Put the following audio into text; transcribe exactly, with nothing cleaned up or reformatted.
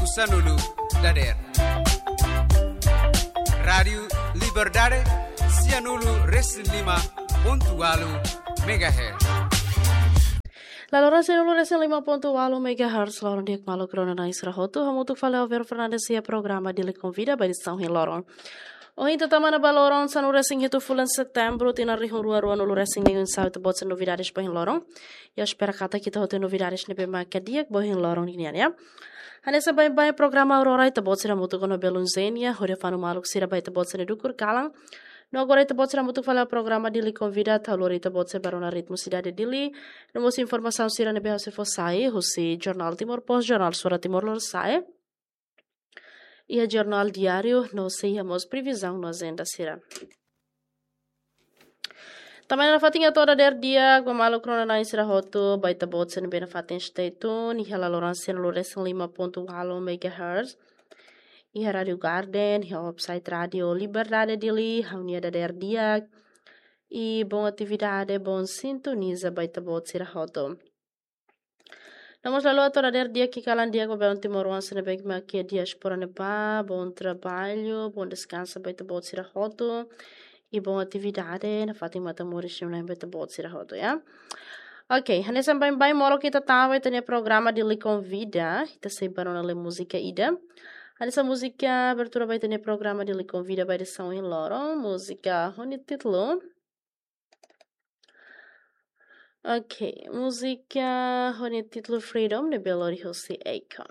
Sanulu dader. Rádiu Liberdade, sianulu resin lima pontu walu megahertz. Laloran sianulu resin lima pontu walu megahertz, loron di'ak maluk rona-na'in sira hotu, hamutuk fali ho Vero Fernandes iha programa Dili Konvida ba edisaun ohin loron. Ohin ita tama ona ba loron sanulu resin hitu fulan Setembru, tinan rihun rua rua nulu resin neen, oinsá ita-boot sira novidades ba ohin loron. Ita espera katak ita hotu novidades ne'ebé mak di'ak ba ohin loron nian, ya. Hanesan baibain programa Aurora ita-boot sira hamutuk ona ho Belun Zenia, hodi fanu maluk sira ba ita-boot sira dukur kalan. No agora ita-boot sira hamutuk fali ho programa Dili Konvida, atu lori ita-boot sira ba rona ritmu sidade Dili. No mós informasaun sira ne'ebé sei fó sai husi Jornál Timor Post, Jornál Suara Timor Lorosa'e, iha Jornál Diáriu, no sei iha mós previzaun no ajenda sira. Tanba ne'e nafatin hato'o dader di'ak ba maluk rona-na'in sira hotu, ba ita-boot sira ne'ebé nafatin stay tune iha laloran sianulu resin lima pontu walu megahertz. Iha Rádiu Garden, iha website Rádiu Liberdade Dili, ha'u-nia dader di'ak. I bom atividade, bom sintoniza ba ita-boot sira hotu. No mós hato'o dader di'ak i kalan di'ak ba belun timoroan sira ne'ebé mak iha diáspora ne'ebá, bom trabalho, bom descanso ba ita-boot sira hotu. I bom atividade, nafatin matan moris sira-ne'e ba ita-boot sira hotu, ya. Ok, hanesan baibain molok ita tama ba ita-nia programa Dili Konvida, ita sei ba rona lee múzika ida. Hanesan múzika abertura ba ita-nia programa Dili Konvida ba edisaun ohin loron, múzika ho nia títulu. Ok, múzika ho nia títulu Freedom, ne'ebé lori husi Akon.